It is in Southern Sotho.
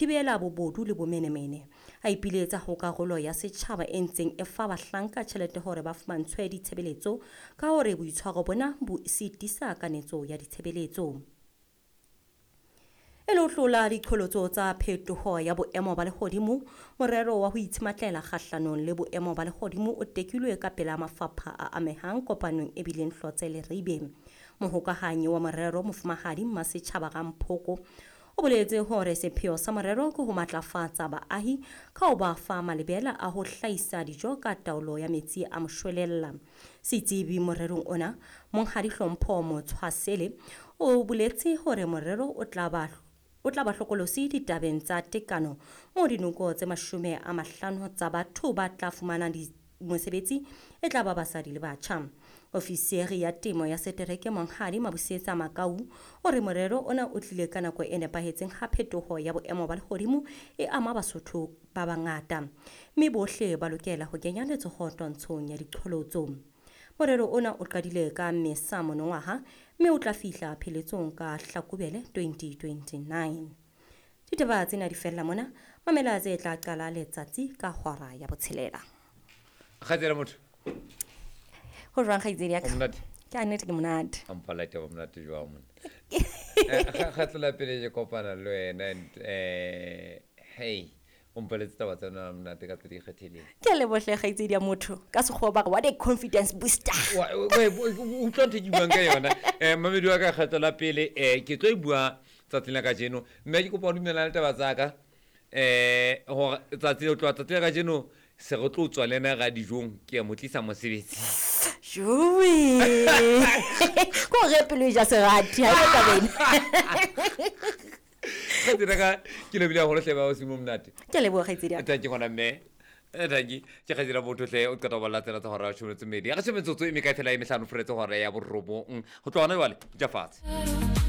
Thibela bobodu le bomenemene. A ipiletsa ho karolo ya setjhaba e ntseng e fa bahlanka tjhelete hore ba fumantshwe ditshebeletso ka hore boitshwaro bona bo sitisa kanetso ya ditshebeletso. E le ho hlola diqholotso tsa phetoho ya boemo ba lehodimo, morero wa ho itshematlela kgahlanong le boemo ba lehodimo o tekilwe ka pela mafapha a amehang kopanong e bileng Hlotse Leribe. Mohokahanyi wa morero Mofumahadi Mmasetjhaba Ramphoko o boletse hore sepheo sa morero ke ho matlafatsa baahi ka ho ba fa malebela a ho hlahisa dijo ka taolo ya metsi a moshwelella. Setsebi morerong ona, Monghadi Hlompho Motshwasele, o boletse hore morero o tla ba o tla ba hlokolosi ditabeng tsa tekano moo dinoko tse 50 tsa batho ba tla fumana mosebetsi e tla ba basadi le batjha. Ofisiri ya temo ya setereke Monghadi Mabusetsa Makau o re morero ona o tlile ka nako e nepahetseng ha phetoho ya boemo ba lehodimo e ama Basotho ba bangata, mme bohle ba lokela ho kenya letsoho twantshong ya diqholotso. Morero ona o qadile ka Mmesa monongwaha mme o tla fihla pheletsong ka Hlakubele 2029. Ditaba tsena di fella mona, mamela tse tla qala letsatsi ka hora ya botshelela. Kgaitsedi motho. Ho jwang kgaitsedi ya ka? O monate? Ke a nnete ke monate. A mpha light ba monate jwang monna. Kgetlo la pele ke kopana le wena and hey, o mpoletse taba tsa nna monate ka tse di ikgethileng. Ke a lebohle kgaitsedi ya motho. Ka sekgowa ba re what a confidence booster. Utlwa ntho e ke buang ka yona. Mamedi wa ka kgetlo la pele ke tlo e bua tsatsing la kajeno mme ke kopa o dumellana le taba tsa ka gore tsatsi o tloha tsatsi la kajeno se re tlo tswa le ena ra dijong ke ya mo tlisa mosebetsi. Joe. Ko re pelo e ja serati ha e taba ena. Kgaitsedi ka ke lebile haholo hle ba o simo monate. Ke a leboha kgaitsedi ya ka. Thank you gona mme. Thank you. Ke kgaitsedi ya botho hle o qeta ho balla tsena tsa hora ya leshome le metso e mmedi. Re shebe metsotso e mekae fela e mehlano furetse hora ya borobong. Ho tloha hona jwale ja fatshe.